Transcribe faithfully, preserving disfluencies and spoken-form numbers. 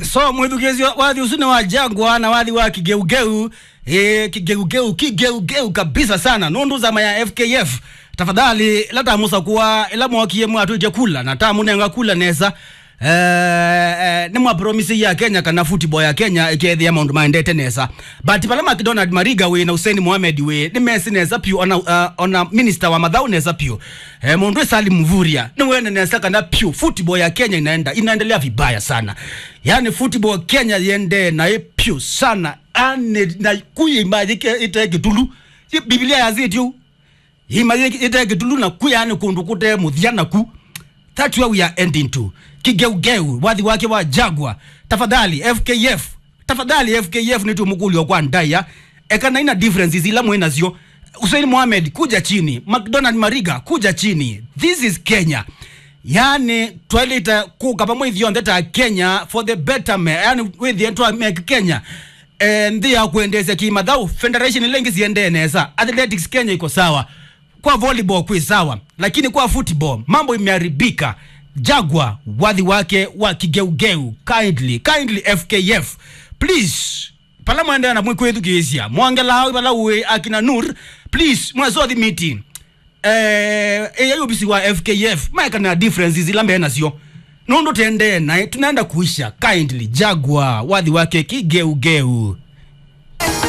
So mwĩthukĩĩsya, wathi ũsu nĩ wa Jaguar na wathi wa Kigeugeu. E, Kigeugeu, Kigeugeu kabisa sana. Nũndũ nzama ya F K F, tafadhali, ĩla tamũsakũa, ĩla mwokie mwatwĩtye kula na tamũnenga kula nesa, eh, eh, nĩmwapromisie Akenya kana football ya Kenya ĩkethĩa maũndũ maendete nesa. But vala McDonald Mariga wĩ na Hussein Mohamed wĩ, nĩmesĩ nesa piũ, ona, uh, ona minister wa mathaũ nesa piũ. Eh, mũndũ wĩ Salim Mvurya nĩwene nesa kana piũ football ya Kenya inaenda, inaendelea vibaya sana. Yani football Kenya yendee naĩ piũ sana. Ani na kuye imaji ite kĩtulu. Biblia yazĩtye ũu. Imaji ite kĩtulu na kuya ni kũndũ kũte mũthya naku. That's where we are ending to. Kigeugeu, wathi wake wa Jaguar. Tafadhali, F K F. Tafadhali, F K F, nĩtũmũkũlyo kwa ndaĩa. Ekana ina differences ila mwĩ nasyo. Hussein Mohamed, kuja chini. McDonald Mariga, kuja chini. This is Kenya. Yani, twaĩlĩte kũka vamwe ithyonthe ta Kenya for the betterment. Yani, wĩthĩe twa make Kenya, eh, nthĩ ya kwendeesya kĩmathaũ. Federation ila ingĩ siendee nesa. Athletics Kenya iko sawa. Kwa volleyball kwĩ sawa. Lakini kwa football, mambo imeharibika. Jaguar, wathi wake wa Kigeugeu. Kindly, kindly F K F. Please. Pala mwendeea na mwĩkwĩthukĩĩsya, mwongela au pala ũĩ akina Nur, please, mwasothi meeting. Eh, ĩyai obisi wa F K F, maeka na differences ila mbee nasyo. Nũndũ tendee naĩ, tunaenda kuisha. Kindly, Jaguar, wathi wake Kigeugeu.